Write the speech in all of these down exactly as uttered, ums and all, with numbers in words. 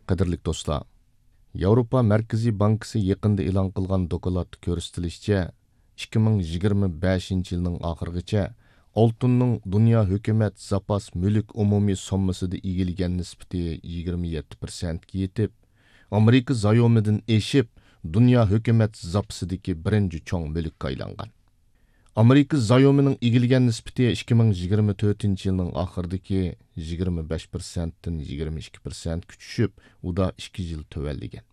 قەدىرلىك دوستلار، ياۋروپا مەركىزىي بانكىسى يېقىندا ئېلان قىلغان دوكلاتتا كۆرسىتىلىشىچە، ئىككى مىڭ يىگىرمە بەشىنچى يىلنىڭ ئاخىرىغىچە ئالتۇننىڭ دۇنيا ھۆكۈمەت زاپاس مۈلۈك ئومۇمىي سوممىسىدا ئىگىلىگەن نىسبىتى يىگىرمە يەتتە پىرسەنتكە يېتىپ، ئامېرىكا زايومىدىن ئېشىپ، دۇنيا ھۆكۈمەت زاپىسىدىكى بىرىنچى چوڭ مۈلۈككە ئايلانغان. ئامېرىكا زايومىنىڭ ئىگىلىگەن نىسبىتى ئىككى مىڭ يىگىرمە تۆتىنچى يىلنىڭ ئاخىرىدىكى يىگىرمە بەش پىرسەنتتىن يىگىرمە ئىككى پىرسەنتكە چۈشۈپ، ئۇدا ئىككى يىل تۆۋەنلىگەن.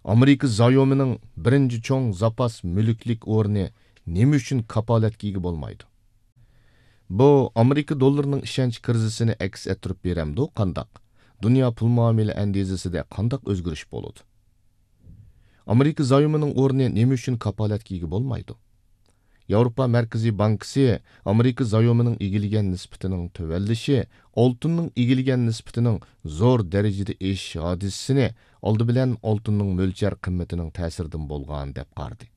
ئامېرىكا زايومىنىڭ بىرىنچى چوڭ زاپاس مۈلۈكلۈك ئورنى نېمە ئۈچۈن كاپالەتكە ئىگە بولمايدۇ؟ بۇ ئامېرىكا دوللىرىنىڭ ئىشەنچ كىرىزىسىنى ئەكس ئەتتۈرۈپ بېرەمدۇ قانداق؟ دۇنيا پۇل مۇئامىلە ئەندىزىسىدە قانداق ئۆزگىرىش بولىدۇ؟ ئامېرىكا زايومىنىڭ ئورنى نېمە ئۈچۈن كاپالەتكە ئىگە بولمايدۇ؟ ياۋروپا مەركىزىي بانكىسى ئامېرىكا زايومىنىڭ ئىگىلىگەن نىسبىتىنىڭ تۆۋەنلىشى ئالتۇننىڭ ئىگىلىگەن نىسبىتىنىڭ زور دەرىجىدە ئېشىش ھادىسىسىنى ئالدى بىلەن ئالتۇننىڭ مۆلچەر قىممىتىنىڭ تەسىرىدىن بولغان دەپ قارىدى.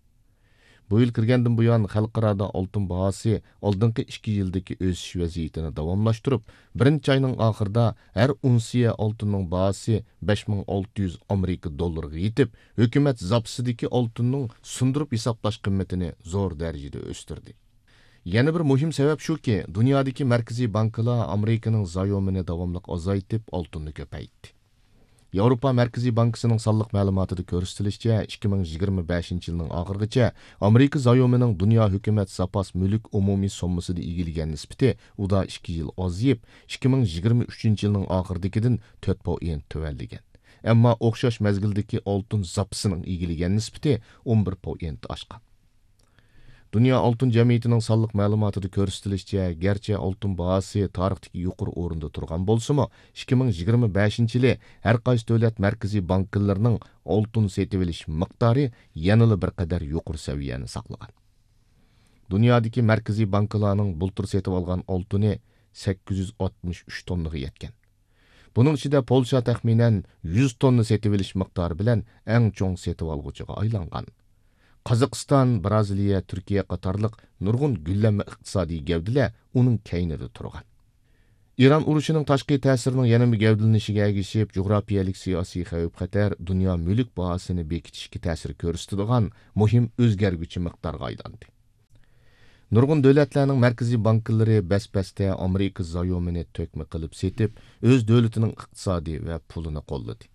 بۇ يىل كىرگەندىن بۇيان، خەلقئارادا ئالتۇن باھاسى ئالدىنقى ئىككى يىلدىكى ئۆسۈش ۋەزىيىتىنى داۋاملاشتۇرۇپ، بىرىنچى ئاينىڭ ئاخىرىدا ھەر ئۇنسىيە ئالتۇننىڭ باھاسى بەش مىڭ ئالتە يۈز ئامېرىكا دوللىرىغا يېتىپ، ھۆكۈمەت زاپىسىدىكى ئالتۇننىڭ سۇندۇرۇپ ھېسابلاش قىممىتىنى زور دەرىجىدە ئۆستۈردى. يەنە بىر مۇھىم سەۋەب شۇكى، دۇنيادىكى مەركىزىي بانكىلار ئامېرىكىنىڭ زايومىنى داۋاملىق ئازايتىپ، ئالتۇننى كۆپەيتتى. ياۋروپا مەركىزىي بانكىسىنىڭ سانلىق مەلۇماتىدا كۆرسىتىلىشىچە، ئىككى مىڭ يىگىرمە بەشىنچى يىلنىڭ ئاخىرىغىچە ئامېرىكا زايومىنىڭ دۇنيا ھۆكۈمەت زاپاس مۈلۈك ئومۇمىي سوممىسىدا ئىگىلىگەن نىسبىتى ئۇدا ئىككى يىل ئازىيىپ، ئىككى مىڭ يىگىرمە ئۈچىنچى يىلنىڭ ئاخىرىدىكىدىن تۆت پوئېنت تۆۋەنلىگەن. ئەمما ئوخشاش مەزگىلدىكى ئالتۇن زاپىسىنىڭ ئىگىلىگەن نىسبىتى ئون بىر پوئېنت ئاشقان. دۇنيا ئالتۇن جەمئىيىتىنىڭ سانلىق مەلۇماتىدا كۆرسىتىلىشىچە، گەرچە ئالتۇن باھاسى تارىختىكى يۇقىرى ئورۇندا تۇرغان بولسىمۇ، ئىككى مىڭ يىگىرمە بەشىنچى يىلى ھەر قايسى دۆلەت مەركىزىي بانكىلىرىنىڭ ئالتۇن سېتىۋېلىش مىقدارى يەنىلا بىر قەدەر يۇقىرى سەۋىيەنى ساقلىغان. دۇنيادىكى مەركىزىي بانكىلارنىڭ بۇلتۇر سېتىۋالغان ئالتۇنى سەككىز يۈز ئاتمىش ئۈچ توننىغا يەتكەن. بۇنىڭ ئىچىدە پولشا تەخمىنەن يۈز توننا سېتىۋېلىش مىقدارى بىلەن ئەڭ چوڭ سېتىۋالغۇچىغا ئايلانغان. قازاقىستان، بىرازىلىيە، تۈركىيە قاتارلىق نۇرغۇن گۈللەنمە ئىقتىسادىي گەۋدىلەر ئۇنىڭ كەينىدە تۇرغان. ئىران ئۇرۇشىنىڭ تاشقى تەسىرىنىڭ يەنىمۇ گەۋدىلىنىشىگە ئەگىشىپ، جۇغراپىيەلىك سىياسىي خەۋپ-خەتەر دۇنيا مۈلۈك باھاسىنى بېكىتىشكە تەسىر كۆرسىتىدىغان مۇھىم ئۆزگەرگۈچى مىقدارغا ئايلاندى. نۇرغۇن دۆلەتلەرنىڭ مەركىزىي بانكىلىرى بەس-بەستە ئامېرىكا زايومىنى تۆكمە قىلىپ سېتىپ، ئۆز دۆلىتىنىڭ ئىقتىسادى ۋە پۇلىنى قوللىدى.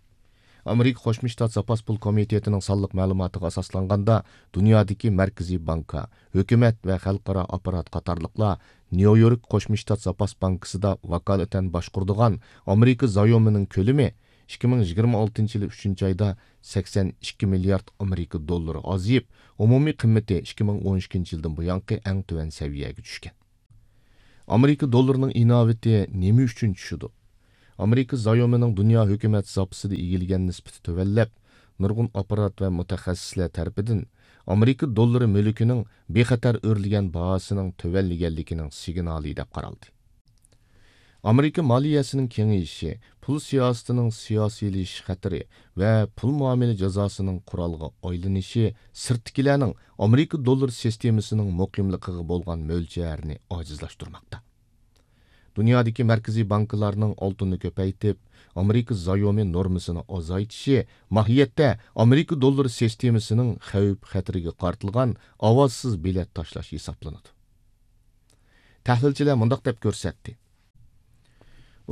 ئامېرىكا قوشما شتات زاپاس پۇل كومىتېتىنىڭ سانلىق مەلۇماتىغا ئاساسلانغاندا، دۇنيادىكى مەركىزىي بانكا، ھۆكۈمەت ۋە خەلقئارا ئاپپارات قاتارلىقلار نيۇ يورك قوشما شتات زاپاس بانكىسىدا ۋاكالىتەن باشقۇرىدىغان ئامېرىكا زايومىنىڭ كۆلىمى ئىككى مىڭ يىگىرمە ئالتىنچى يىلى ئۈچىنچى ئايدا سەكسەن ئىككى مىليارد ئامېرىكا دوللىرى ئازىيىپ، ئومۇمىي قىممىتى ئىككى مىڭ ئون ئىككىنچى يىلدىن بۇيانقى ئەڭ تۆۋەن سەۋىيەگە چۈشكەن. ئامېرىكا دوللىرىنىڭ ئىناۋىتى نېمە ئۈچۈن چۈشىدۇ؟ ئامېرىكا زايومىنىڭ دۇنيا ھۆكۈمەت زاپىسىدا ئىگىلىگەن نىسبىتى تۆۋەنلەپ، نۇرغۇن ئاپپارات ۋە مۇتەخەسسىسلەر تەرىپىدىن ئامېرىكا دوللىرى مۈلكىنىڭ بىخەتەر ئۆرلىگەن باھاسىنىڭ تۆۋەنلىگەنلىكىنىڭ سىگنالى دەپ قارالدى. ئامېرىكا مالىيەسىنىڭ كېڭىيىشى، پۇل سىياسىتىنىڭ سىياسىيلىشىش خەتىرى ۋە پۇل مۇئامىلە جازاسىنىڭ قورالغا ئايلىنىشى سىرتتىكىلەرنىڭ ئامېرىكا دوللىرى سىستېمىسىنىڭ مۇقىملىقىغا بولغان مۆلچەرىنى ئاجىزلاشتۇرماقتا. دۇنيادىكى مەركىزىي بانكىلارنىڭ ئالتۇننى كۆپەيتىپ، ئامېرىكا زايومى نورمىسىنى ئازايتىشى ماھىيەتتە ئامېرىكا دوللىرى سىستېمىسىنىڭ خەۋپ-خەتىرىگە قارىتىلغان ئاۋازسىز بېلەت تاشلاش ھېسابلىنىدۇ. تەھلىلچىلەر مۇنداق دەپ كۆرسەتتى: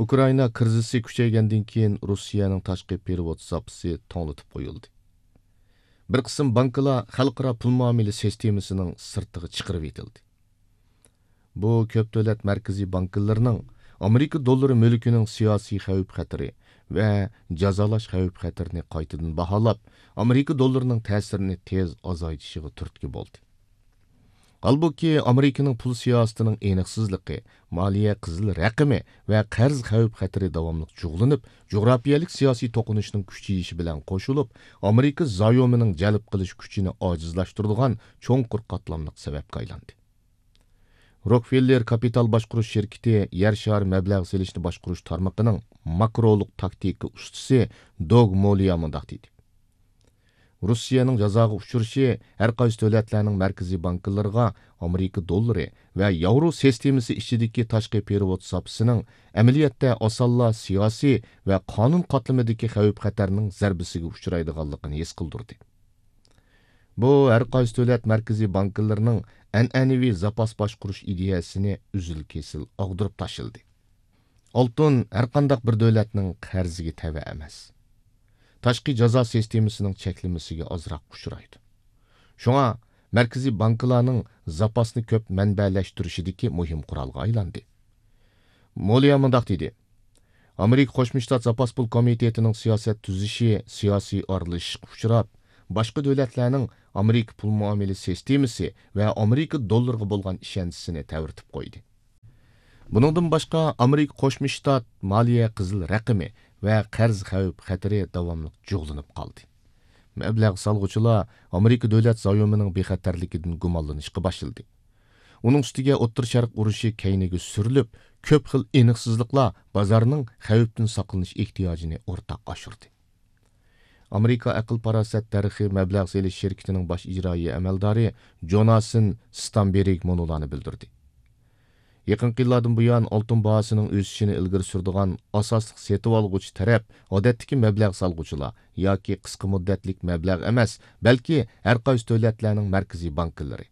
ئۇكرائىنا كىرىزىسى كۈچەيگەندىن كېيىن، روسىيەنىڭ تاشقى پېرېۋوت زاپىسى توڭلىتىپ قويۇلدى. بىر قىسىم بانكىلار خەلقئارا پۇل مۇئامىلە سىستېمىسىنىڭ سىرتىغا چىقىرىۋېتىلدى. بۇ كۆپ دۆلەت مەركىزىي بانكىلىرىنىڭ ئامېرىكا دوللىرى مۈلكىنىڭ سىياسىي خەۋپ-خەتىرى ۋە جازالاش خەۋپ-خەتىرىنى قايتىدىن باھالاپ، ئامېرىكا دوللىرىنىڭ تەسىرىنى تېز ئازايتىشىغا تۈرتكە بولدى. ھالبۇكى، ئامېرىكىنىڭ پۇل سىياسىتىنىڭ ئېنىقسىزلىقى، مالىيە قىزىل رەقىمى ۋە قەرز خەۋپ-خەتىرى داۋاملىق جۇغلىنىپ، جۇغراپىيەلىك سىياسىي توقۇنۇشنىڭ كۈچىيىشى بىلەن قوشۇلۇپ، ئامېرىكا زايومىنىڭ جەلپ قىلىش كۈچىنى ئاجىزلاشتۇرىدىغان چوڭقۇر قاتلاملىق سەۋەبكە ئايلاندى. روكفېللېر كاپىتال باشقۇرۇش شىركىتى يەر شارى مەبلەغ سېلىشنى باشقۇرۇش تارمىقىنىڭ ماكرولۇق تاكتىكا ئۇستىسى دوگ مولىيا مۇنداق دېدى: روسىيەنىڭ جازاغا ئۇچرىشى ھەر قايسى دۆلەتلەرنىڭ مەركىزىي بانكىلىرىغا ئامېرىكا دوللىرى ۋە ياۋرو سىستېمىسى ئىچىدىكى تاشقى پېرېۋوت زاپىسىنىڭ ئەمەلىيەتتە ئاسانلا سىياسىي ۋە قانۇن قاتلىمىدىكى خەۋپ-خەتەرنىڭ زەربىسىگە ئۇچرايدىغانلىقىنى ھېس قىلدۇردى. بۇ ھەر قايسى دۆلەت مەركىزىي بانكىلىرىنىڭ ئەنئەنىۋى زاپاس باشقۇرۇش ئىدىيەسىنى ئۈزۈل-كېسىل ئاغدۇرۇپ تاشلىدى. ئالتۇن ھەرقانداق بىر دۆلەتنىڭ قەرزىگە تەۋە ئەمەس. تاشقى جازا سىستېمىسىنىڭ چەكلىمىسىگە ئازراق ئۇچرايدۇ. شۇڭا مەركىزىي بانكىلارنىڭ زاپاسنى كۆپ مەنبەلەشتۈرۈشىدىكى مۇھىم قورالغا ئايلاندى. مولىيا مۇنداق دېدى: ئامېرىكا قوشما شتات زاپاس پۇل كومىتېتىنىڭ سىياسەت تۈزۈشى سىياسىي ئارىلىشىشقا ئۇچراپ، باشقا دۆلەتلەرنىڭ ئامېرىكا پۇل مۇئامىلە سىستېمىسى ۋە ئامېرىكا دوللىرىغا بولغان ئىشەنچىسىنى تەۋرىتىپ قويدى. بۇنىڭدىن باشقا، ئامېرىكا قوشما شتات مالىيە قىزىل رەقىمى ۋە قەرز خەۋپ-خەتىرى داۋاملىق جۇغلىنىپ قالدى. مەبلەغ سالغۇچىلار ئامېرىكا دۆلەت زايومىنىڭ بىخەتەرلىكىدىن گۇمانلىنىشقا باشلىدى. ئۇنىڭ ئۈستىگە ئوتتۇرا شەرق ئۇرۇشى كەينىگە سۈرۈلۈپ، كۆپ خىل ئېنىقسىزلىقلار بازارنىڭ خەۋپتىن ساقلىنىش ئېھتىياجىنى ئورتاق ئاشۇردى. ئامېرىكا ئەقىل-پاراسەت دەرىخى مەبلەغ سېلىش شىركىتىنىڭ باش ئىجرائىي ئەمەلدارى جوناسىن ستامبېرگ مۇنۇلارنى بىلدۈردى: يېقىنقى يىللاردىن بۇيان، ئالتۇن باھاسىنىڭ ئۆسۈشىنى ئىلگىرى سۈرىدىغان ئاساسلىق سېتىۋالغۇچى تەرەپ، ئادەتتىكى مەبلەغ سالغۇچىلار ياكى قىسقا مۇددەتلىك مەبلەغ ئەمەس، بەلكى ھەر قايسى دۆلەتلەرنىڭ مەركىزىي بانكىلىرى.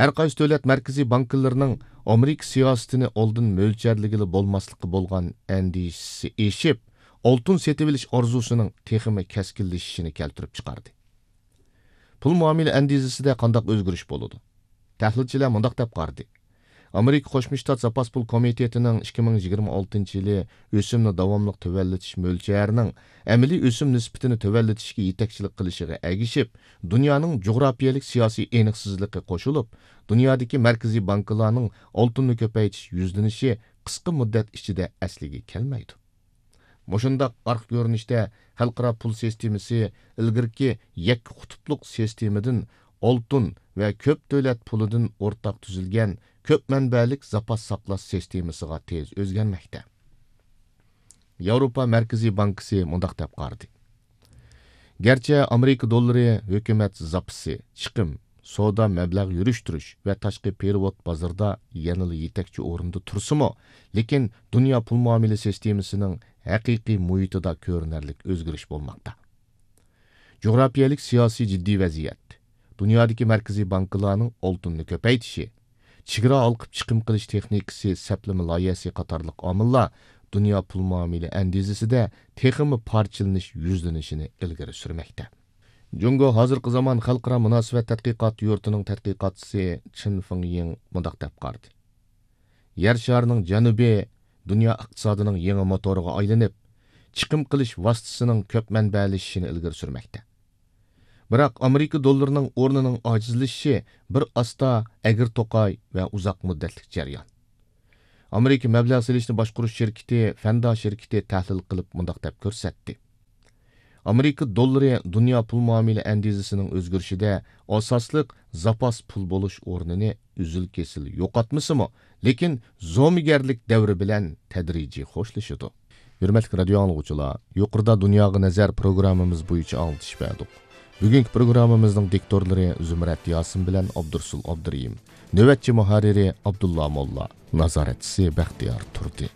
ھەر قايسى دۆلەت مەركىزىي بانكىلىرىنىڭ ئامېرىكا سىياسىتىنى ئالدىن مۆلچەرلىگىلى بولماسلىققا بولغان ئەندىشىسى ئېشىپ، ئالتۇن سېتىۋېلىش ئارزۇسىنىڭ تېخىمۇ كەسكىنلىشىشىنى كەلتۈرۈپ چىقاردى. پۇل مۇئامىلە ئەندىزىسىدە قانداق ئۆزگىرىش بولىدۇ؟ تەھلىلچىلەر مۇنداق دەپ قارىدى: ئامېرىكا قوشما شتات زاپاس پۇل كومىتېتىنىڭ ئىككى مىڭ يىگىرمە ئالتىنچى يىلى ئۆسۈمنى داۋاملىق تۆۋەنلىتىش مۆلچەرىنىڭ ئەمەلىي ئۆسۈم نىسبىتىنى تۆۋەنلىتىشكە يېتەكچىلىك قىلىشىغا ئەگىشىپ، دۇنيانىڭ جۇغراپىيەلىك سىياسىي ئېنىقسىزلىقى قوشۇلۇپ، دۇنيادىكى مەركىزىي بانكىلارنىڭ ئالتۇننى كۆپەيتىش يۈزلىنىشى قىسقا مۇددەت ئىچىدە ئەسلىگە كەلمەيدۇ. مۇشۇنداق ئارقا كۆرۈنۈشتە خەلقئارا پۇل سىستېمىسى ئىلگىرىكى يەككە قۇتۇپلۇق سىستېمىدىن ئالتۇن ۋە كۆپ دۆلەت پۇلىدىن ئورتاق تۈزۈلگەن كۆپ مەنبەلىك زاپاس ساقلاش سىستېمىسىغا تېز ئۆزگەرمەكتە. ياۋروپا مەركىزىي بانكىسى مۇنداق دەپ قارىدى: گەرچە ئامېرىكا دوللىرى ھۆكۈمەت زاپىسى، چىقىم، سودا مەبلەغ يۈرۈشتۈرۈش ۋە تاشقى پېرېۋوت بازىرىدا يەنىلا يېتەكچى ئورۇندا تۇرسىمۇ، لېكىن دۇنيا پۇل مۇئامىلە سىستېمىسىنىڭ ھەقىقىي مۇھىتىدا كۆرۈنەرلىك ئۆزگىرىش بولماقتا. جۇغراپىيەلىك سىياسىي جىددىي ۋەزىيەت، دۇنيادىكى مەركىزىي بانكىلارنىڭ ئالتۇننى كۆپەيتىشى، چېگرا ھالقىپ چىقىم قىلىش تېخنىكىسى سەپلىمە لايىھەسى قاتارلىق ئامىللار دۇنيا پۇل مۇئامىلە ئەندىزىسىدە تېخىمۇ پارچىلىنىش يۈزلىنىشىنى ئىلگىرى سۈرمەكتە. جۇڭگو ھازىرقى زامان خەلقئارا مۇناسىۋەت تەتقىقات يۇرتىنىڭ تەتقىقاتچىسى چېن فېڭيىڭ مۇنداق دەپ قارىدى: يەر شارىنىڭ جەنۇبى دۇنيا ئىقتىسادىنىڭ يېڭى موتورىغا ئايلىنىپ، چىقىم قىلىش ۋاسىتىسىنىڭ كۆپ مەنبەلىشىشىنى ئىلگىرى سۈرمەكتە. بىراق، ئامېرىكا دوللىرىنىڭ ئورنىنىڭ ئاجىزلىشىشى بىر ئاستا ئەگرى-توقاي ۋە ئۇزاق مۇددەتلىك جەريان. ئامېرىكا مەبلەغ سېلىشنى باشقۇرۇش شىركىتى فەندا شىركىتى تەھلىل قىلىپ مۇنداق دەپ كۆرسەتتى: ئامېرىكا دوللىرى دۇنيا پۇل مۇئامىلە ئەندىزىسىنىڭ ئۆزگىرىشىدە ئاساسلىق زاپاس پۇل بولۇش ئورنىنى ئۈزۈل-كېسىل يوقاتمىسىمۇ، لېكىن زومىگەرلىك دەۋرى بىلەن تەدرىجىي خوشلىشىدۇ. ھۆرمەتلىك رادىيو ئاڭلىغۇچىلار، يۇقىرىدا دۇنياغا نەزەر پروگراممىمىز بويىچە ئاڭلىتىش بەردۇق. بۈگۈنكى پروگراممىمىزنىڭ دىكتورلىرى زۇمرەت ياسىن بىلەن ئابدۇرسۇل ئابدۇرېھىم. نۆۋەتچى مۇھەررىرى ئابدۇللا موللا. نازارەتچىسى بەختىيار تۇردى.